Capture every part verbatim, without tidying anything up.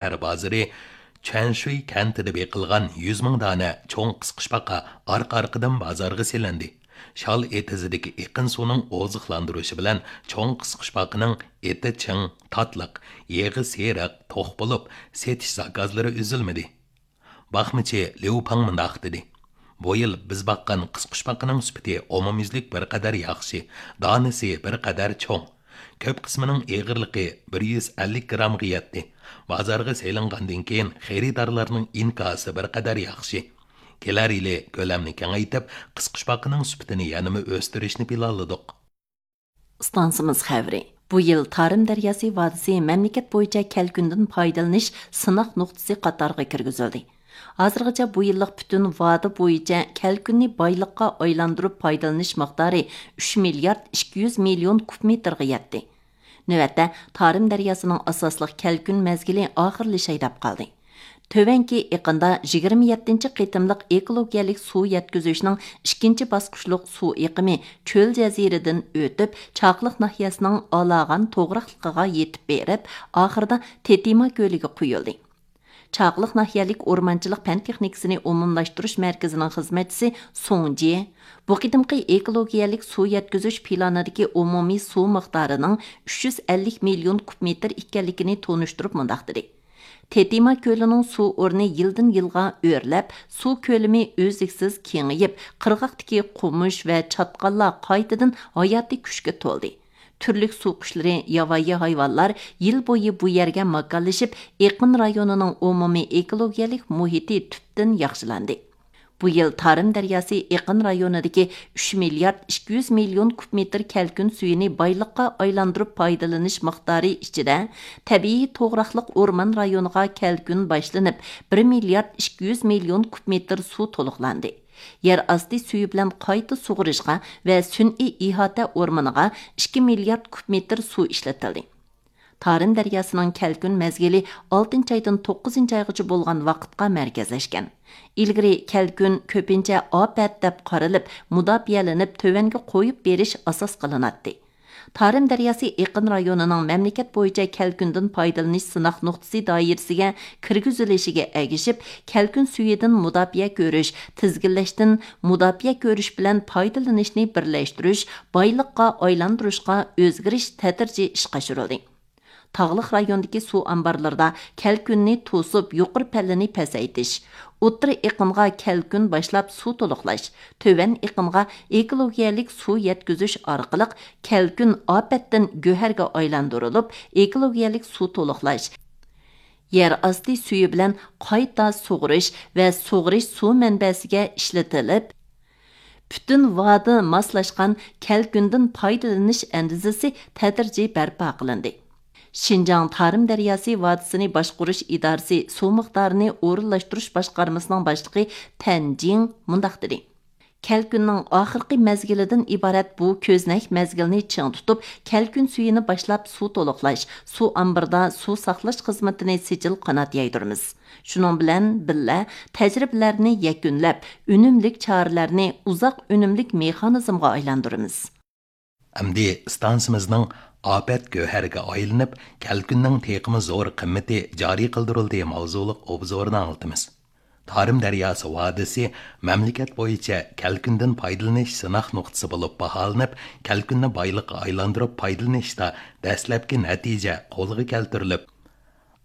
شەھەر بازىرى چۈەنشۈي كەنتىدە بېقىلغان يۈز مىڭ دانە چوڭ قىسقۇچپاقا ئارقا-ئارقىدىن بازارغا سېلىندى. شال ئېتىزىدىكى ئېقىن سۇنىڭ ئوزۇقلاندۇرۇشى بىلەن چوڭ قىسقۇچپاقىنىڭ ئېتى چىڭ، تاتلىق، يېغى سېرىق، توق بولۇپ، سېتىش زاكازلىرى ئۈزۈلمىدى. باقمىچى ليۇ پاڭ مۇنداق دېدى: بۇ يىل بىز باققان قىسقۇچپاقىنىڭ سۈپىتى ئومۇميۈزلۈك بىر قەدەر ياخشى، دانىسى بىر قەدەر چوڭ. كۆپ قىسمىنىڭ ئېغىرلىقى بىر يۈز ئەللىك گرامغا يەتتى. بازارغا سېلىنغاندىن كېيىن خېرىدارلارنىڭ ئىنكاسى بىر قەدەر ياخشى. كېلەر يىلى كۆلەمنى كېڭەيتىپ، قىسقۇچپاقىنىڭ سۈپىتىنى يەنىمۇ ئۆستۈرۈشنى پىلانلىدۇق. ئىستانسىمىز خەۋىرى. بۇ يىل تارىم دەرياسى ۋادىسى مەملىكەت بويىچە كەلكۈندىن پايدىلىنىش سىناق نۇقتىسى قاتارىغا كىرگۈزۈلدى. ھازىرغىچە بۇ يىللىق پۈتۈن ۋادە بويىچە كەلكۈننى بايلىققا ئايلاندۇرۇپ پايدىلىنىش مىقدارى ئۈچ مىليارد ئىككى يۈز مىليون كۇب مېتىرغا يەتتى. نۆۋەتتە، تارىم دەرياسىنىڭ ئاساسلىق كەلكۈن مەزگىلى ئاخىرلىشاي دەپ قالدى. تۆۋەنكى ئېقىندا يىگىرمە يەتتىنچى قېتىملىق ئېكولوگىيەلىك سۇ يەتكۈزۈشنىڭ ئىككىنچى باسقۇچلۇق سۇ ئېقىمى چۆل جەزىرىدىن ئۆتۈپ، چاقلىق ناھىيەسىنىڭ ئالاغان توغراقلىقىغا يېتىپ بېرىپ، ئاخىرىدا تېتىما كۆلىگە قۇيۇلدى. چاقلىق ناھىيەلىك ئورمانچىلىق پەن تېخنىكىسىنى ئومۇملاشتۇرۇش مەركىزىنىڭ خىزمەتچىسى سۇڭ جيې بۇ قېتىمقى ئېكولوگىيەلىك سۇ يەتكۈزۈش پىلانىدىكى ئومۇمىي سۇ مىقدارىنىڭ ئۈچ يۈز ئەللىك مىليون كۇب مېتىر ئىكەنلىكىنى تونۇشتۇرۇپ مۇنداق دېدى: تېتىما كۆلىنىڭ سۇ ئورنى يىلدىن يىلغا ئۆرلەپ، سۇ كۆلىمى ئۈزلۈكسىز كېڭىيىپ، قىرغاقتىكى قومۇش ۋە چاتقاللار قايتىدىن ھاياتىي كۈچكە تولدى. تۈرلۈك سۇ قۇشلىرى، ياۋايى ھايۋانلار يىل بويى بۇ يەرگە ماكانلىشىپ، ئېقىن رايونىنىڭ ئومۇمىي ئېكولوگىيەلىك مۇھىتى تۈپتىن ياخشىلاندى. بۇ يىل تارىم دەرياسى ئېقىن رايونىدىكى ئۈچ مىليارد ئىككى يۈز مىليون كۇب مېتىر كەلكۈن سۈيىنى بايلىققا ئايلاندۇرۇپ پايدىلىنىش مىقدارى ئىچىدە، تەبىئىي توغراقلىق ئورمان رايونىغا كەلكۈن باشلىنىپ، بىر مىليارد ئىككى يۈز مىليون كۇب مېتىر سۇ تولۇقلاندى. يەر ئاستى سۈيى بىلەن قايتا سۇغىرىشقا ۋە سۈنئىي ئىھاتە ئورمىنىغا ئىككى مىليارد كۇب مېتىر سۇ ئىشلىتىلدى. تارىم دەرياسىنىڭ كەلكۈن مەزگىلى ئالتىنچى ئايدىن توققۇزىنچى ئايغىچە بولغان ۋاقىتقا مەركەزلەشكەن. ئىلگىرى كەلكۈن كۆپىنچە ئاپەت دەپ قارىلىپ، مۇداپىئەلىنىپ، تۆۋەنگە قويۇپ بېرىش ئاساس قىلىناتتى. تارىم دەرياسى ئېقىن رايونىنىڭ مەملىكەت بويىچە كەلكۈندىن پايدىلىنىش سىناق نۇقتىسى دائىرىسىگە كىرگۈزۈلۈشىگە ئەگىشىپ، كەلكۈن سۈيىدىن مۇداپىئە كۆرۈش، تىزگىنلەشتىن مۇداپىئە كۆرۈش بىلەن پايدىلىنىشنى بىرلەشتۈرۈش، بايلىققا ئايلاندۇرۇشقا ئۆزگىرىش تەدرىجىي ئىشقا ئاشۇرۇلدى. تاغلىق رايوندىكى سۇ ئامبارلىرىدا كەلكۈننى توسۇپ، يۇقىرى پەللىنى پەسەيتىش، ئوتتۇرا ئېقىنغا كەلكۈن باشلاپ سۇ تولۇقلاش، تۆۋەن ئېقىنغا ئېكولوگىيەلىك سۇ يەتكۈزۈش ئارقىلىق كەلكۈن ئاپەتتىن گۆھەرگە ئايلاندۇرۇلۇپ، ئېكولوگىيەلىك سۇ تولۇقلاش، يەر ئاستى سۈيى بىلەن قايتا سۇغىرىش ۋە سۇغىرىش سۇ مەنبەسىگە ئىشلىتىلىپ، پۈتۈن ۋادى ماسلاشقان كەلكۈندىن پايدىلىنىش ئەندىزىسى تەدرىجىي بەرپا قىلىندى. شىنجاڭ تارىم دەرياسى ۋادىسىنى باشقۇرۇش ئىدارىسى سۇ مىقدارىنى ئورۇنلاشتۇرۇش باشقارمىسىنىڭ باشلىقى تەن جىڭ مۇنداق دېدى: كەلكۈننىڭ ئاخىرقى مەزگىلىدىن ئىبارەت بۇ كۆزنەك مەزگىلنى چىڭ تۇتۇپ، كەلكۈن سۈيىنى باشلاپ سۇ تولۇقلاش، سۇ ئامبىرىدا سۇ ساقلاش خىزمىتىنى سىجىل قانات يايدۇرىمىز. شۇنىڭ بىلەن بىللە، تەجرىبىلەرنى يەكۈنلەپ، ئۈنۈملۈك چارىلەرنى ئۇزاق ئۈنۈملۈك مېخانىزمغا ئايلاندۇرىمىز. ئەمدى ئىستانسىمىزنىڭ ئاپەت گۆھەرگە ئايلىنىپ، كەلكۈننىڭ تېخىمۇ زور قىممىتى جارى قىلدۇرۇلدى ماۋزۇلۇق ئوبزورىنى ئاڭلىتىمىز. تارىم دەرياسى ۋادىسى مەملىكەت بويىچە كەلكۈندىن پايدىلىنىش سىناق نۇقتىسى بولۇپ باھالىنىپ، كەلكۈننى بايلىققا ئايلاندۇرۇپ پايدىلىنىشتا دەسلەپكى نەتىجە قولغا كەلتۈرۈلۈپ،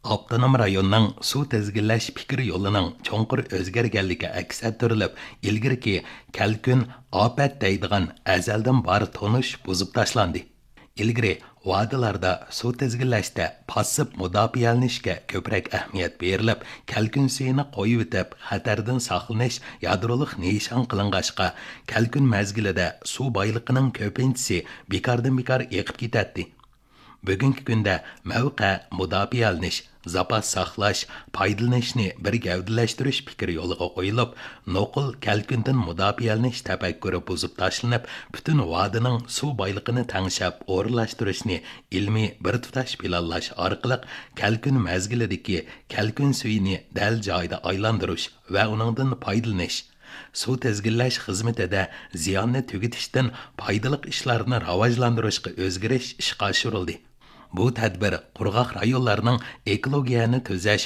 ئاپتونوم رايوننىڭ سۇ تىزگىنلەش پىكىر يولىنىڭ چوڭقۇر ئۆزگەرگەنلىكى ئەكس ئەتتۈرۈلۈپ، ئىلگىرىكى كەلكۈن، ئاپەت دەيدىغان ئەزەلدىن بار تونۇش بۇزۇپ تاشلاندى. ئىلگىرى ۋادىلاردا سۇ تىزگىنلەشتە پاسسىپ مۇداپىئەلىنىشكە كۆپرەك ئەھمىيەت بېرىلىپ، كەلكۈن سۈيىنى قويۇۋېتىپ، خەتەردىن ساقلىنىش، يادرولۇق نىشان قىلىنغاچقا، كەلكۈن مەزگىلىدە سۇ بايلىقىنىڭ كۆپىنچىسى بىكاردىن بىكار ئېقىپ كېتەتتى. بۈگۈنكى كۈندە مەۋقە مۇداپىئەلىنىش، زاپاس ساقلاش، پايدىلىنىشنى بىر گەۋدىلەشتۈرۈش پىكرى يولغا قويۇلۇپ، نوقۇل كەلكۈندىن مۇداپىئەلىنىش تەپەككۇرى بۇزۇپ تاشلىنىپ، پۈتۈن ۋادىنىڭ سۇ بايلىقىنى تەڭشەپ ئورۇنلاشتۇرۇشنى ئىلمىي بىر تۇتاش پىلانلاش ئارقىلىق كەلكۈن مەزگىلىدىكى كەلكۈن سۈيىنى دەل جايىدا ئايلاندۇرۇش ۋە ئۇنىڭدىن پايدىلىنىش، سۇ تىزگىنلەش خىزمىتىدە زىياننى تۈگىتىشتىن پايدىلىق ئىشلارنى راۋاجلاندۇرۇشقا ئۆزگىرىش ئىشقا ئاشۇرۇلدى. بۇ تەدبىر قۇرغاق رايونلارنىڭ ئېكولوگىيەنى تۈزەش